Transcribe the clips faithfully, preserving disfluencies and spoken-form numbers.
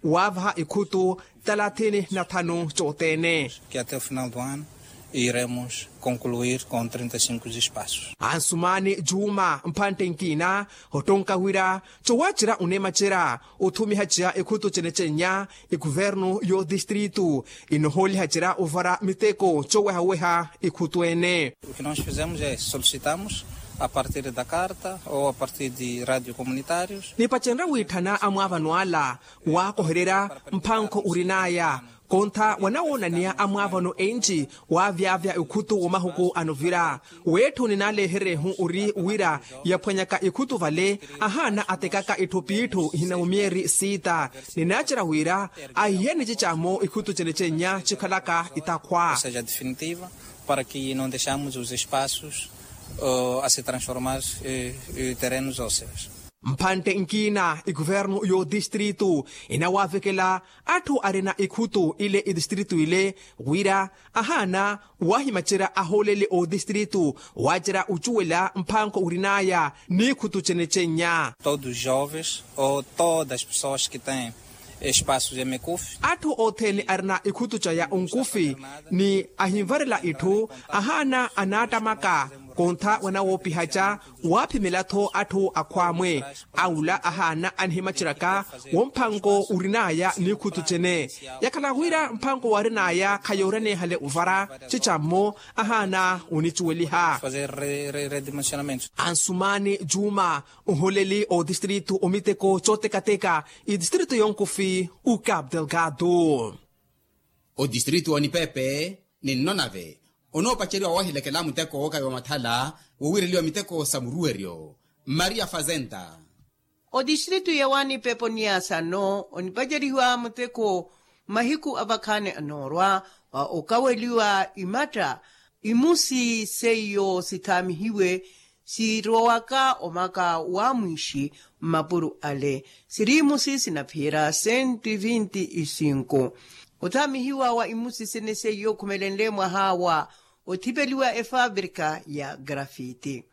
Waavaha ikhutu talathini na thanu cothene. Ke ate o final do ano iremos concluir com trinta e cinco espaços. Ansumani juma mphantte nkina ottonka wira cowaacira oneemacerya othumiha ceya ikhutu cene cennya ikuvernu yo distritu inohooliha cerya ovara miteko cowehaweha ikhutu ene. O que nós fizemos é solicitamos a partir da carta ou a partir de radio comunitários. Nipacenrya wiitthana amwaavano ala waakohererya mphankho orin'aya kontha wanawoonaneya amwaavano enci waavyavya ikhutu wamahuku anovira. Weetthu ninaleherehu ori wira yaphwanyaka ikhutu vale ahaana atekaka itthu p'itthu ihinawumyeri siita. Ninaacerya wira ahihe nicicamo ikhutu cene cennya cikhalaka itakhwa. Seja definitiva para que não deixamos os espaços a se transformar terrenos ósseos. Mphantte nkina ikuvernu y'odistritu inawaavekela atthu arina ikhutu ile idistritu ile wira ahaana wahimacerya ahooleli oodistritu waacerya ocuwela mphankho orin'aya n'ikhutu cene cennya. Todos os jovens ou todas as pessoas que têm espaços de mekufi. Atthu othene arina ikhutu caya onkufi ni ahinvarela itthu ahaana anaattamaka kontha wanawoopihaca waaphimela-tho atthu akhwaamwe. Awula ahaana anihimaceryaka womphanko orin'aya n'ikhutu cene yakhala wira mphanko waarin'aya khayooryanehale ovara cicammo ahaana onicuweliha. Ansumani juma oholeli otistritu omiteko cotekateka itistritu yonkufi ucap delgado. Otistritu onipepe ninnonave onoopaceriwa woohilekela muteko wookayiwa mathala wowiireliwa miteko sa muruweryo. Maria fazenda. Otistritu ya wanipepe oniyasano onipacerihiwa muteko mahiku avakhaani anoorwa wa okaweliwa imatta imusi seiyo sithaamihiwe sirowaka omaka wa mwiixi mmapuro ale siri imusi sinaphiyera senti vinti isinko. Othaamihiwa wa imusi sene seiyo okhumelenle mwaha wa othipeliwa efabrika ya grafiti.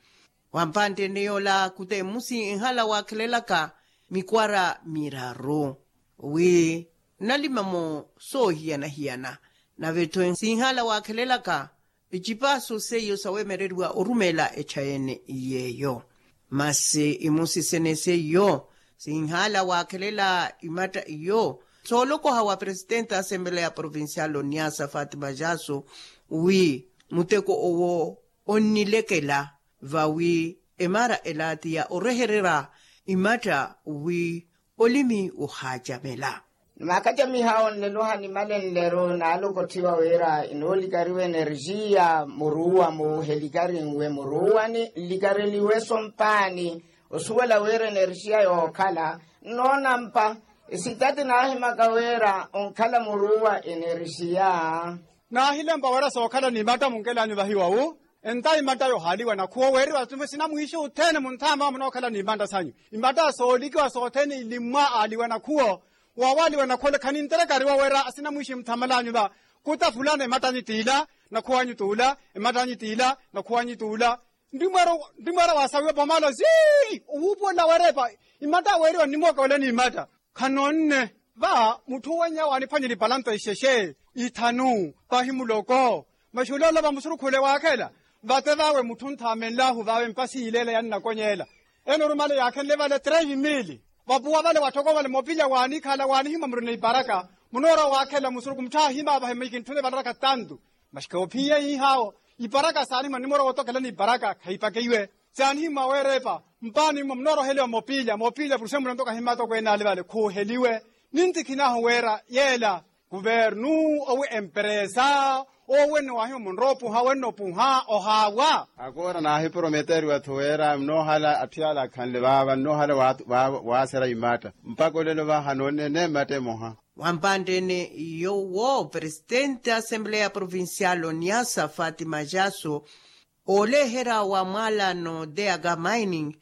Wampantte ene yoola khuta emusi enhala waakhelelaka mikwara miraru wi nalima-mo soohiyana-hiyana. Nave-tho sinhala waakhelelaka ecipaso seiyo saweemereriwa orumeela echa ene yeeyo. Masi imusi sene seiyo sinhala waakhelela imatta iyo soolokoha wa presitente a asembela ya provincial oniasa fatima jaso wi muteko owo onnilekela vawi emara ela ti ya orehererya imatta wi olimi ohaacamela. Nimaakacamiha onleluha nimale nleru naalokotthiwa wira inoolikariwa enerjiya muruuwa-mu helikarinwe muruuwani nlikareliwe-so mpaani osuwela wira enerjiya yookhala nnoonampa esitati naahimaka wira onkhala muruuwa enerjiya. Naahilempa wira sookhala n'imatta munkel'anyu vahiwa wu enta imatta yohaaliwa nakhuwo weeriwa sinamwiixi othene munthaama munookhala n'imatta sanyu imatta soolikiwa sothene ilimmwa aaliwa nakhuwo. Waawaaliwa nakhuwo ole khaninterekariwa wira sinamwiixi muthamal'anyu va kuta fulana imatta anyu t'ila nakhuwo anyu t'ula imatta anyu t'ila nakhuwo anyu t'ula. Ntimweera waasawiwa pomala sii owuupuwela weerepa imatta weeriwa nnimooka wala n'imatta. Khanoonne va mutthu wenye waaniphwanyela ipalanto ixexe ithanu pahi muloko. Masi olelo va musurukhule waakhela vate vawe mutthu nthaamenlahu vawe mpasi yileela yannakonyela ene orumale yaakhenle vale tres mili. Vapuwa vale watthoko vale mopilya waanikhala waanihimwa murina iparaka munoorwa waakhela musuruku mutthu aahima vahe mikintthune valaraka tantu. Masi khoophiye hiihaawo iparaka saanihimwa nnimorwa wootokela n'iparaka khayipakeiwe saanihimwa weerepa mpaani mwa munooroheliwa mopiilya mopiilya puruse mulanto kahimmata okweene ale vale khuuheliwe. Nintikhinahu weera yeela kuvernu owi emperesa owi wenno waahimwa munroopuha wenno opuha ohaawa. Akoora naahiprometeriwa-tho weera nnoohala atthu yaala akhanle vaava nnoohala waaserya imatta mpakha olelo vaha noonne eneematta emoha. Wampantte-ene yowo presitente a asembleya provincial oniasa fatima jaso ooleherya wa mwaalano deaga mining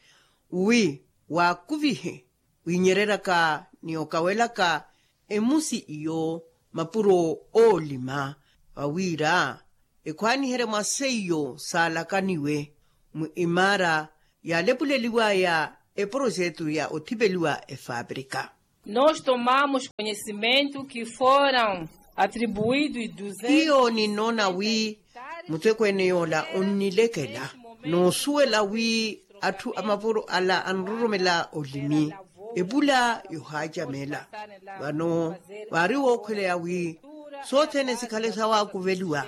wi waakuvihe winyereryaka ni okawelaka emusi iyo mapuro oolima vawiira ekhwaaniherye mwa seiyo saalakaniwe mu imaara yaalepuleliwaya eprojetu ya othipeliwa efabrika. Nos tomamos conhecimento que foram atribuídos duzentos hiyo ninnoona wi mutekweene yoola onnilekela noosuwela wi atthu a mapuro ala anroromela olimi epula yohaacamela. Vano vaari wookhweleya wi sothene sikhale sawaakuveliwa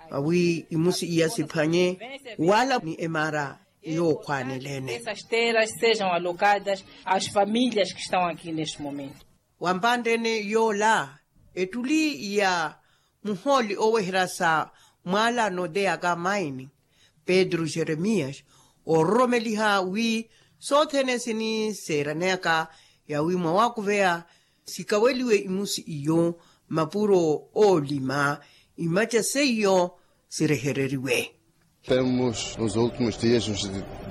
vawi imusi iya siphwanye wala ni emara yookhwaaneleene. Essas terras sejam alocadas às famílias que estão aqui neste momento. Wampanttene yoola ettuli ya muhooli oweherya sa mwaalano de yaka maini pedro jeremias oororomeliha wi sothene siniseeraneyaka yawi mwawakuveya sikaweliwe imusi iyo mapuro oolima imaca seiyo sirehereriwe. Temos nos últimos dias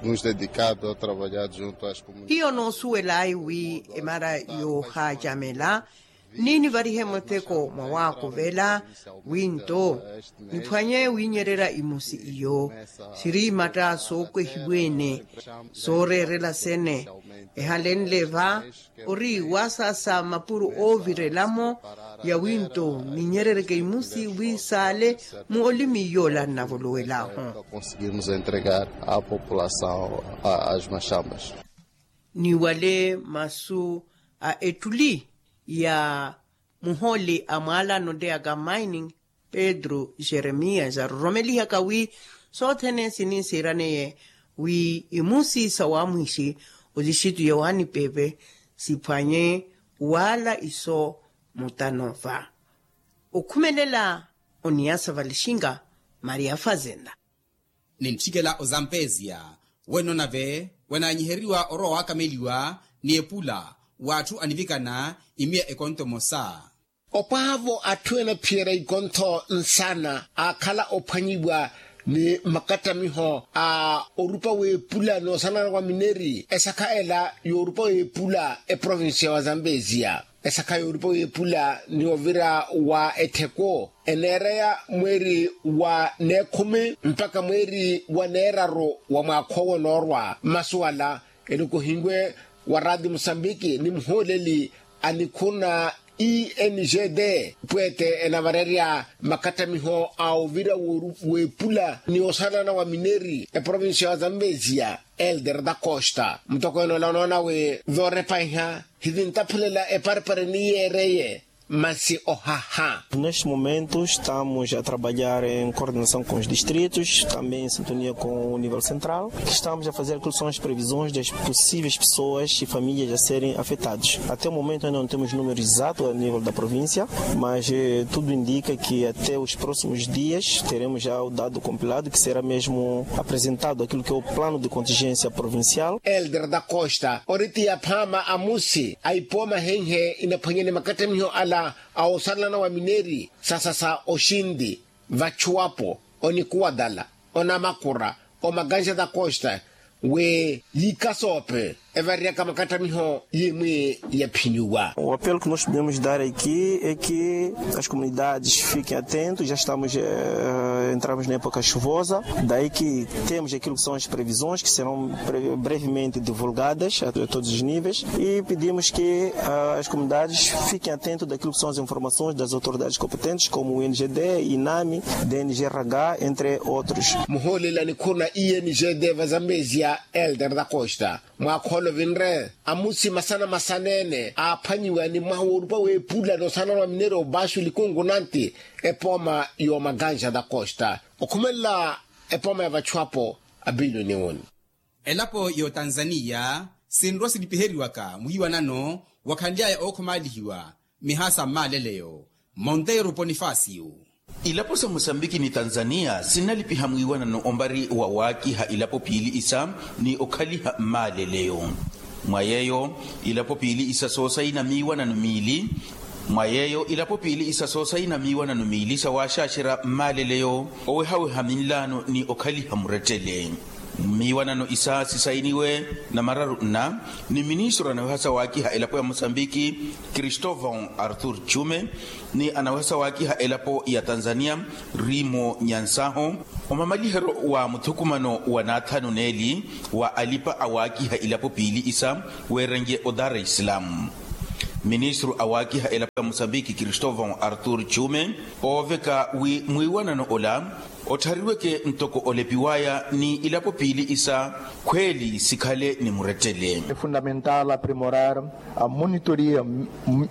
nos dedicado a trabalhar junto às comunidades. Hiyo noosuwelayi wi emara yoohaacamela ni nivarihe mutheko mwawaakuvela wi nto niphwanye wiinyererya imusi iyo siri imatta sookwehiwe-ene sooreerela sene ehalenle va ori waasasa mapuro oovirela-mo yawi nto ninyerereke imusi wi saale mu olimi yoola nnavolowel'ahu. Conseguirmos entregar a população as machambas. Ni wale masu a ettuli ya muhooli a mwaalano de yaka mining pedro jeremias aroromelihaka wi sothene siniisiiraneye wi imusi sa wamwiixi osixitu ya waanipepe siphwanye waala iso mutano va okhumelela oniyasa valixinga maria fazenda. Nintthikela ozampeziya wenno nave wenaanyiheriwa orowa waakameliwa ni epula w'atthu anivikana imiya ekonto emosa. Opwaavo atthu enaphiyerya ikontho nsana aakhala ophwanyiwa ni makattamiho a orupa w'epula n'osanana wa mineri esakha ela y'orupa w'epula eprovincia wa zambezia esakha y'orupa w'epula ni ovira wa ettheko eneereya mweeri wa neekhumi mpakha mweeri wa neeraru wa mwaakha owo noorwa mmasu ala enukuhiwe wa raati musambiki ni muhooleli a nikhuna e n g d pweete enavarerya makattamiho a ovira w'epula ni osalana wa mineri eprovincia wa zambezia elder da costa mutokweene ola onoona wi voorepahiha hivintaphulela eparipari ni yeereye masi ohaha. Neste momento estamos a trabalhar em coordenação com os distritos também em sintonia com o nível central que estamos a fazer aquilo que são as previsões das possíveis pessoas e famílias a serem afetados até o momento ainda não temos números exatos a nível da província mas tudo indica que até os próximos dias teremos já o dado compilado que será mesmo apresentado aquilo que é o plano de contingência provincial. Elder da costa ori ti aphaama a musi a ipooma henhe inaphwanyane makattamiho ala a osalana wa mineri sasasa oxinti vachuwapo onikuwatala onamakura omaganxa da costa wi yiikasoope evariyaka makattamiho yimwi yaphinyiwa. O apelo que nós podemos dar aqui é que as comunidades fiquem atentos já estamos entramos na época chuvosa daí que temos aquilo que são as previsões que serão brevemente divulgadas a todos os níveis e pedimos que as comunidades fiquem atentos daquilo que são as informações das autoridades competentes como o n g d inami dng rh entre outros. Muhooleli a nikhuna e n g d va zambezia elder da costa mwaakhoolo vinre amusi masana masaneene aaphwanyiwa ni mwaha woorupa w'epula n'osanana wa mineri obaxu likungu nanti epooma y'omaganxa da costa okhumelela epooma ya vachuwapo a biliyoni woni. Elapo y'otanzaniya sinrwa silipiheriwaka mwiiwanano wakhanly'aya ookhomaalihiwa mihaasa mmaaleleyo monteiro ponifasiyo. Ilapo sa musambiki ni tanzaniya sinnalipiha mwiiwanano ombari wa waakiha ilapo piili isa ni okhaliha mmaaleleyo mwa yeeyo ilapo piili isa soosayina miiwanano miili mwa yeeyo ilapo piili isa soosayina miiwanano miili sa waaxaaxerya mmaaleleyo owehaweha minlaano ni okhaliha murettele mmiiwanano isa sisayiniwe namararu nna ni ministru anaweha sa waakiha elapo ya musambiki cristovão arthur chume ni anaweha sa waakiha elapo ya tanzaniya rimo nyansaho omamaliheryo wa muthukumano wa naathanu neeli wa alipa awaakiha ilapo piili isa weerenrye o dar es salaam. Ministru awaakiha elapo ya musambiki kristovon artur chume ooveka wi mwiiwanano ola otthareriweke ntoko olepiwaya ni ilapo piili isa khweeli sikhale ni murettele. Fundamental aprimorar a monitoria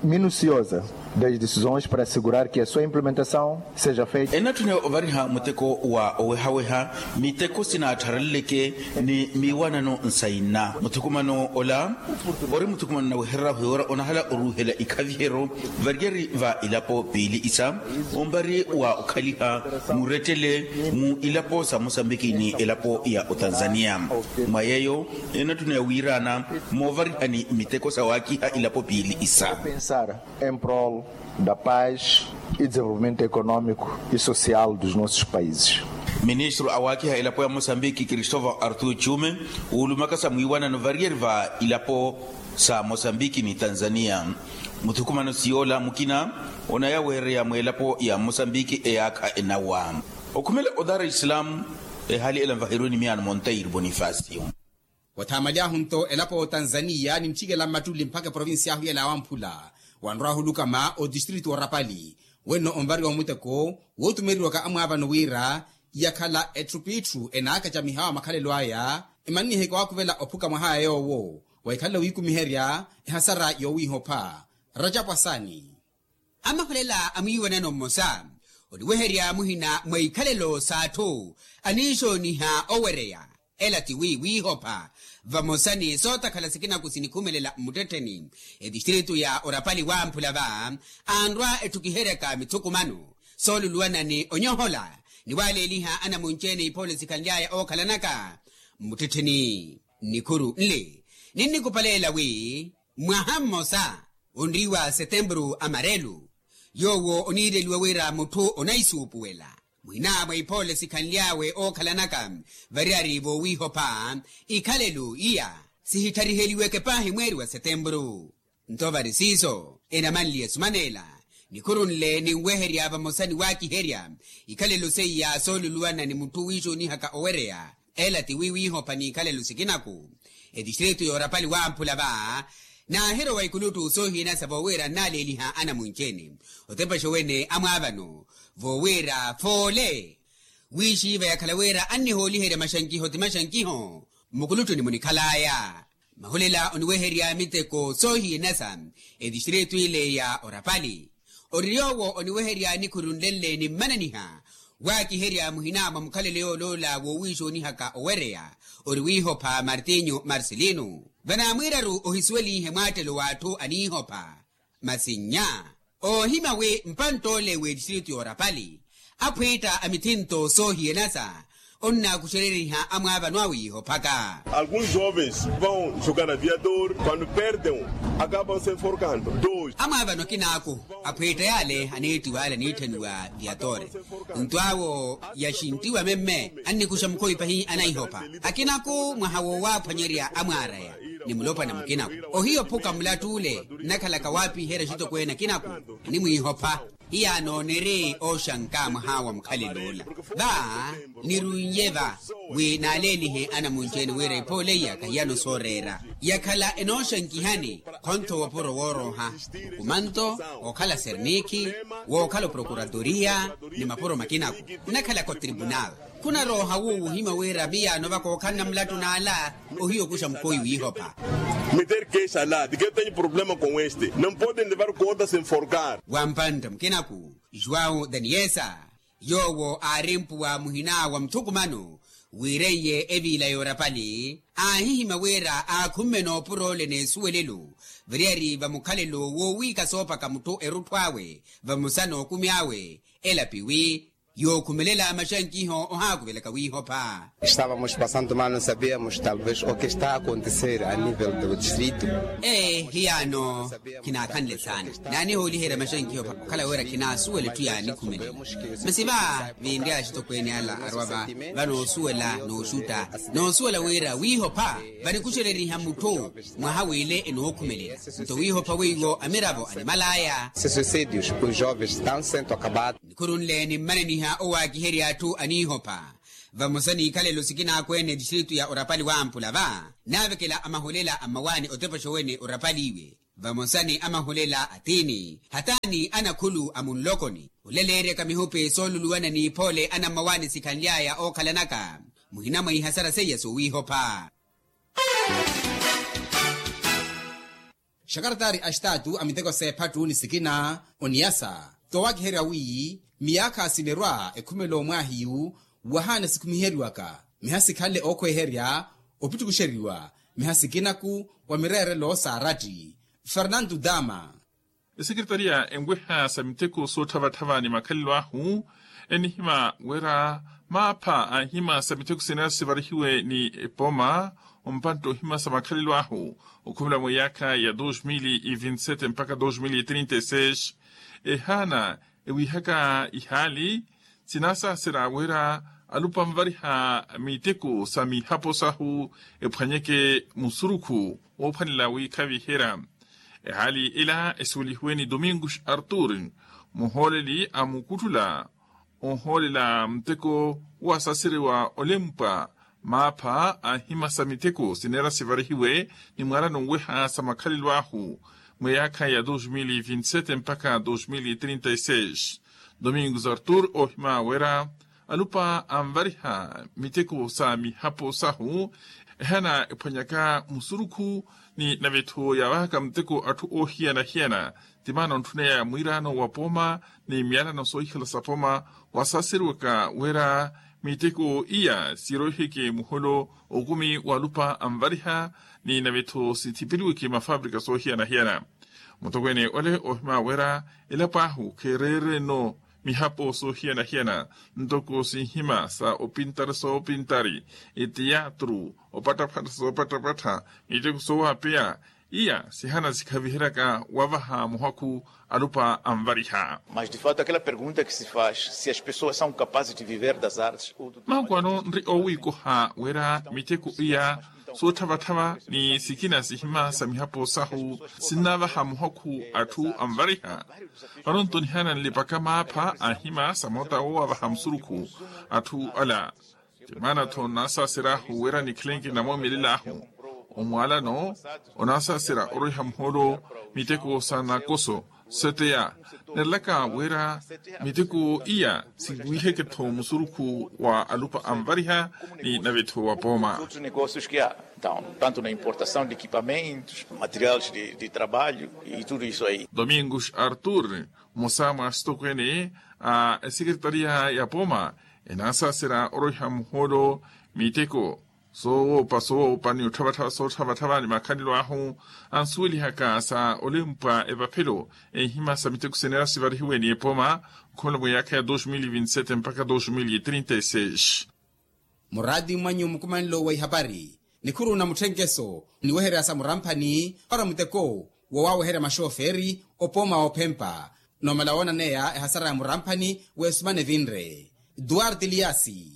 minuciosa das decisões para assegurar que a sua implementação seja feita. Enatthuna ovariha muteko wa owehaweha miteko sinaatthareleleke ni miiwanano nsaina muthukumano ola ori muthukumano nawehererya ohiwera onahala oruuhela ikhaviheryo variyari va ilapo piili isa ompari wa okhaliha murettele mu ilapo sa mosambiki ni elapo ya otanzania. Mwa yeeyo enatthuna ya wiiraana moovarihani miteko sa waakiha ilapo piili isa. Em prol da paz e desenvolvimento economico e social dos nossos países. Ministru awaakiha elapo ya mosambiki kristovon artur chume oolumaka sa mwiiwanano variyari va ilapo sa mosambiki ni tanzania. Muthukumano siyoola mukina onayaweereya mweelapo ya mosambiki eyaakha enawa okhumela odara islamu. Ehaali ela nvaheriwe ni miyaano montairi bonifasio. Wathaamaly'ahu nto elapo otanzaniya nintthikela mmattuli mpakha eprovincia ahu yela awamphula wanrw'ahu lukama otistritu orapali wenno onvariwa omuteko wootumereriwaka amwaavano wira yakhala etthupitthu enaakacamihawa makhalelo aya. Emanniheke waakuvela ophuka mwaha yoowo wahikhalela wiikumiherya ehasara yoowiihopha. Rajapwasani. Amahulela a mwiiwanano mmosa oniweherya muhina mwa ikhalelo s'atthu aniixooniha owereya ela ti wi wiihopha vamosa ni sootakhala sikinaku sinikhumelela mmuttettheni etistritu ya orapali wamphula va anrwa etthukiheryaka mithukumano sooluluwana ni onyohola ni waaleeliha anamunci-ene iphoole sikhanly'aya ookhalanaka mmuttettheni. Nnikhuru nli ninnikupaleela wi mwaha mmosa onriiwa setempuru amarelu yoowo oniireliwa wira mutthu onaisuupuwela muhina mwa iphoole sikhanly'awe ookhalanaka variyari voowiihopha ikhalelo iya sihittariheliweke paahi mweeri wa setempuru. Nto vari siiso enamanliye esumaneela nikhuru nle ninweherya vamosa ni waakiherya ikhalelo seiya sooluluwana ni mutthu wiixoonihaka owereya ela ti wi wiihopha n'ikhalelo sikinaku etistritu y'orapali wamphula va naahirowa ikuluttu soohiyanasa voowira nnaaleeliha anamunci-ene otepaxa wene amwaavano voowira foole wiixiiva yakhala wira annihooliherya maxankiho ti maxankiho mmukuluttu-ni munikhal'aya. Mahulela oniweherya miteko soohiyanasa etistritu ile ya orapali ori yoowo oniweherya nikhuru nle nle nimmananiha waakiherya muhina mwa mukhalelo yooloola woowiixoonihaka owereya ori wiihopha martinho marcelino vanaamwiiraru ohisuwelihe mwaattelo w'atthu aniihopha masi nnya oohimya wi mpantt'ole w'etistritu y'orapali aphwiitta a mithinto soohiyanasa onnaakuxereriha amwaavano awe yiihophaka. Alguns jovens vão jogar aviador quando perdem acabam se enforcando. Amwaavano akinaaku aphwiitta yaale aniittiwa ale aniitthaniwa viatore nto awo yaxinttiwa memme annikuxa mukhowi pahi anaihopha akinaku mwaha wowaaphwanyerya amwaaraya ni mulopwana mukinaku ohiya ophuka mulatt'ule nnakhalaka waapiherya axitokweene akinaku animwiihopha. Hiyaano niri ooxanka mwaha wa mukhalelo ola va nirunye va wi naaleelihe anamunci-ene wira ephoole iya kahiyano sooreera yakhala enooxankihani khontho wopuro woorooha okumanto wookhala sernikhi wookhala oprokuratoria ni mapuro makinaku nnakhalaka otribunal khunarooha wuuwo ohimya wira miyaano vaka ookhalana mulattu n'ala ohiya okuxa mukhowi wiihopha. Meter queixa la de que eu tenho problema com este não podem levar conta se enforcar. Wampantta mukinaku juwau daniesa yoowo aari mpuwa muhina wa muthukumano wiireiye eviila y'orapali aahihimya wira aakhumme noopura ole n'esuwelelo variyari va mukhalelo woowiika soopaka mutthu erutthu awe vamosa n'okumi awe elapi wi yookhumelela maxankiho ohaakuvelaka wiihopha. Estávamos passando mal não sabíamos talvez o que está a acontecer a nível do distrito. Ee hiyaano khinaakhanle saana naanihooliherya maxankiho okhala wira khinaasuwela etthu yaanikhumelela masi va vinri axitokweene ala arwa va vanoosuwela nooxutta noosuwela wira wiihopha vanikuxereriha mutthu mwaha w'ile enookhumelela nto wiihopha weiwo amiravo animal'aya. Se suicídios os jovens estão sendo acabados. Nikhuru nle nimmananiha owaakiherya atthu aniihopha vamosa n'ikhalelo sikinaaku-ene etistritu ya orapali wamphula va naavekela amahulela a mmawaani otepaxa owene orapali iwe Vamosa ni amahulela a tiini hataani anakhulu a munlokoni oleleeryaka mihupi sooluluwana n'iphoole anammawaani sikhanly'aya ookhalanaka muhina mwa ihasara seiya sowiihopha. Xakaratari a xitaatu a miteko s'ephattu ni sikina oniyasa toowakiherya wiiyi miyaakha sinerwa ekhumelo mwaahiyu wahaana sikhumiheriwaka miha sikhanle ookhweherya opittukuxeriwa miha sikinaku wa mireerelo saaratti. Fernandu dama. Esekretariya enweha sa miteko sootthavatthava ni makhalelo ahu enihima wira maapha a nhima sa miteko sineera sivarihiwe ni epooma ompantte ohima sa makhalelo ahu okhumela mwa iyaakha ya dos mil e vinte sete mpakha dos mil e trinta e seis ehaana ewiihaka ihaali sinaasaasera wira alupa anvariha miteko sa mihapo sahu ephwanyeke musurukhu woophwanela wiikhaviherya. Ehaali ila esuwelihiwe ni domingos artur muhooleli a mukutthula ohoolela muteko wasaserewa olempwa maapha a nhima sa miteko sineera sivarihiwe ni mwaalano nweha sa makhalelo ahu mwa iyaakha ya dos mil e vinte sete mpakha dos mil e trinta e seis. Domingos artur oohima wira alupa anvariha miteko sa mihapo sahu ehaana ephwanyaka musurukhu ni nave-tho yaavahaka muteko atthu oohiyana-hiyana ti maana ontthuneyaya mwiiraano wa pooma ni miyalano soohikhala sa pooma wasaaseriwaka wira miteko iya siroiheke muholo okumi walupa anvariha ni nave-tho sithipeliweke mafaprika soohiyana-hiyana. Mutokweene ole oohima wira elapo ahu kheereereno mihapo soohiyana-hiyana ntoko sinhima sa opintari soopintari etiyatru opatthapattha soopatthapattha miteko soowapeya iya sihana sikhaviheryaka wavaha muhakhu alupa anvariha. Mas de fato aquela pergunta que se faz se as pessoas são capazes de viver das artes ou do mahuku ano nri owiikoha wira miteko iya sootthavatthava ni sikina sihima sa mihapo sahu sinnaavaha muhakhu atthu anvariha. Vano nto nihaana nlipaka maapha a nhima sa moota woowavaha musurukhu atthu ala ti maana-tho nnaasaaseryahu wira nikhalenke namoomelel'ahu omwaalano onaasaasera orweha muhoolo miteko sa nakoso seteya nerelaka wira miteko iya siwiiheke-tho musurukhu wa alupa anvariha ni nave-tho wa pooma. Tanto na importação de equipamentos materiais de trabalho e tudo isso aí. Domingos artur mmosa mwa asitokweene a esekeretariya ya pooma enaasaasera orweha muhoolo miteko soowoopa soowoopa ni otthavatthava sootthavatthava ni makhalelo ahu ansuwelihaka sa olempwa evaphelo enhima sa miteko sineera sivarihiwe ni epooma okhumela mwa iyaakha ya dos mil e vinte sete mpakha dos mil e trinta e seis. Muraati mwanyu mukumanelo wa ihapari nikhuru na mutthenkeso niweherya sa muramphani para muteko woowaweherya maxooferi opooma oophempa noomala woonaneya ehasara ya muramphani weesumana evinre. Duarte liasi.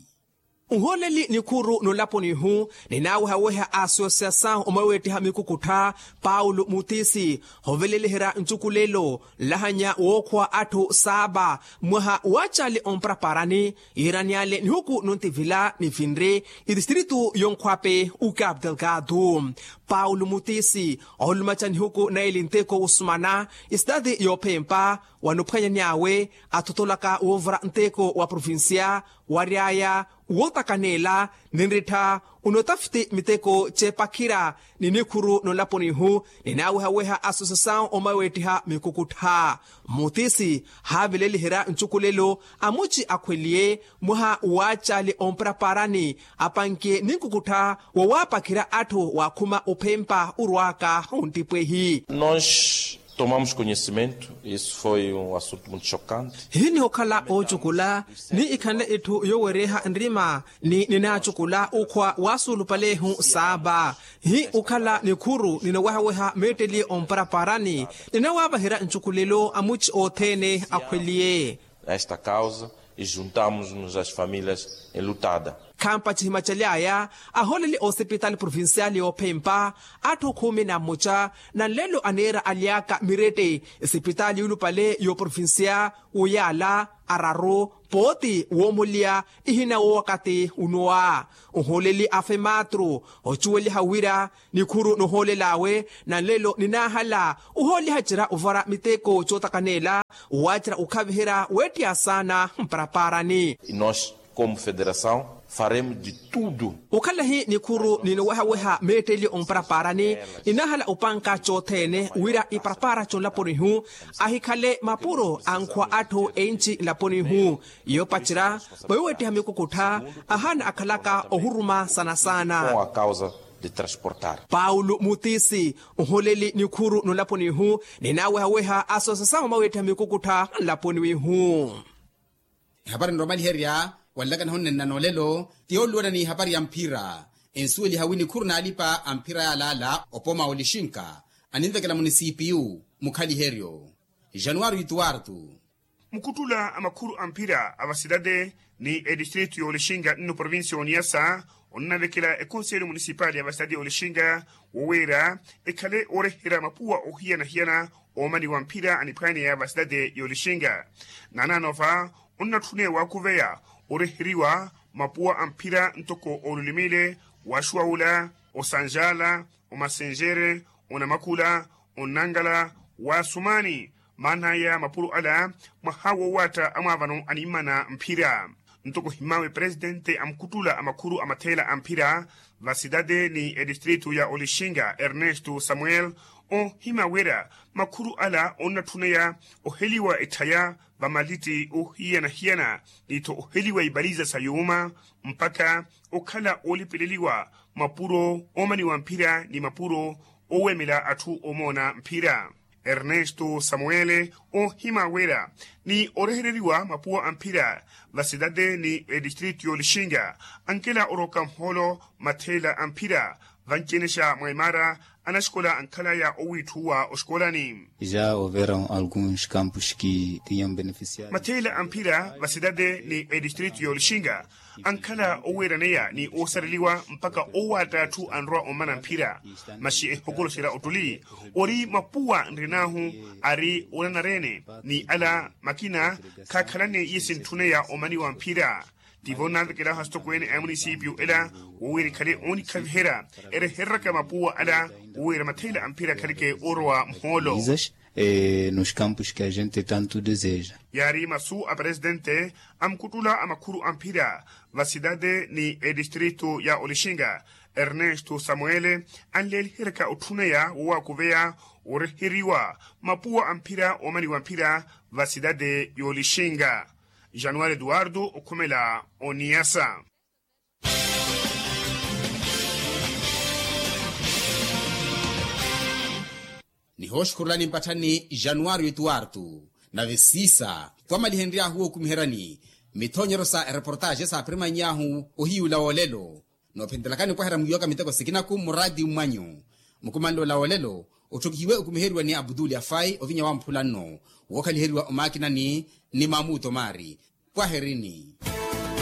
Nhooleli nikhuru nolaponihu ninaawehaweha a asosiasawu omweweettiha mikukuttha paulo mutisi hoveleliherya ncukulelo nlahanya wookhwa atthu saaba mwaha waacali ompraparani yiirani ale nihuku nontivila nivinre iristritu yonkhwape ukapu delgado. Paulo mutisi oolumaca nihuku naili nteko wosumana isitati yoophempa wanophwanyani awe athotolaka woovura nteko wa provincia wary'aya wootakaneela ninrittha onotafiti miteko ceepakhira ni nikhuru nolaponihu ninaawehaweha asosiasawu omweweettiha mikukuttha. Mutisi haavileliherya ncukulelo amuci akhweliye mwaha waacali ompraparani apanke ninkukuttha wowaapakhira atthu waakhuma ophempa orwaaka onttipwehi. Nos tomamos conhecimento isso foi um assunto muito chocante. Hiniho okhala oocukula ni ikhanle itthu yoowereha nrima ni ninaacukula okhwa waasuulupalehu saaba hi okhala nikhuru ninawehaweha meetteliye omparapara ni ninawaavaherya ncukulelo amuci othene akhweliye. Esta causa e juntamos-nos às famílias enlutadas. Khampaci himacaly'aya ahooleli osipitaali provincial yoophempa atthu khumi na mmoca na nlelo aniira aly'aka mirette esipitaali yuulupale yooprovincia wooyaala araru pooti woomulya ihina wowakati unowa. Ohooleli a fematru ocuweliha wira nikhuru nohoolel'awe nanlelo ninahala ohooliha cira ovara miteko cootakaneela owacira okhaviherya weettiya saana mparaparani. Nos komu federasaw faremu di tudu. Okhalahi nikhuru ninowehaweha meetteli omparaparani ninahala opanka cothene wira iparapara conlaponihu ahikhale mapuro ankhwa atthu enci nlaponihu. Iyo pacira mwawiwettiha mikukuttha ahaana akhalaka ohuruma saana-saana. Paulo mutisi oholeli nikhuru nolaponihu ninawehaweha asoosa sawe mwawiwettiha mikukuttha nlaponihu. Ehapari nromaliherya wanlakana honnenna noolelo ti yooluwana ni ehapari ya mphira ensuweliha wi nikhuru n'alipa a mphira yaalaala opooma olixinka aninvekela munisipiyu mukhaliheryo januwari ituwartu. Mukuttula a makhuru a mphira a vasidade ni edistritu y'olixinga nno provincia y'oniyasa onnavekela ekonselho munisipali ya vasidade y'olixinga wowiira ekhale ooreherya mapuwa ohiyana-hiyana oomaniwa mphira aniphwaaneya vasidade y'olixinga. Naanaano va onnatthune waakuveya oreheriwa mapuwa a mphira ntoko olulimile waxuwaula osanjala omasenjere onamakula onnangala waasumani. Maan'aya mapuro ala mwaha wowaatta amwaavano animmana mphira ntoko ohimawe presitente a mukuttula a makhuru a matheela a mphira vasidade ni edistritu ya olixinga ernesto samuel ohima wira makhuru ala onnatthuneya oheliwa etthaya vamalitti ohiyana-hiyana ni-tho oheliwa ipaliza sa yuuma mpakha okhala oolipeleliwa mapuro oomaniwa mphira ni mapuro oweemela atthu omoona mphira. Ernesto samuele ohima wira ni orehereriwa mapuwa a mphira vasidade ni edistritu y'olixinga ankela orooka muhoolo matheela a mphira vanci-ene xa mwa emaara anaxikola ankhalaya owiitthuwa oxikolani. Ya houveram alguns campos que tinham beneficiado. Matheela a mphira vasidade ni edistritu y'olixinga ankhala oweeraneya ni oosareliwa mpakha owaatta atthu anrowa ommana mphira. Maxi ehokoloxerya ottuli ori mapuwa nrinahu ari onanarene ni ala makina khaakhalane iye sintthuneya omaniwa mphira. Tivo nnaavekelaho asitokweene a munisipio ela wowiira ekhale oonikhaviherya erehereryaka mapuwa ala wowiira matheela a mphira akhaleke oorowa muhoolo. Nos campos que a gente tanto deseja. Yaari masu a presitente a mukuttula a makhuru a mphira vasidade ni edistritu ya olixinga ernesto samuele anleeliheryaka otthuneya wowaakuveya oreheriwa mapuwa a mphira oomaniwa mphira vasidade y'olixinga. Januwari eduwardo okhumela oniyasa. Nihooxukhurelani mpatthani januwari ituwartu nave siisa twamalihenry'ahu wookumiheryani mithonyeryo sa ereportaxe saaphirimanny'ahu ohiyuula woolelo. Noophentelakani opwaherya mwiiwaka miteko sikinaku mmuraatiyu mmwanyu mukumanle ola woolelo otthokihiwe okumiheriwa ni abutuli afai ovinya wamphula nno wookhaliheriwa omaakinani ni mamuto maari. Pwaherini.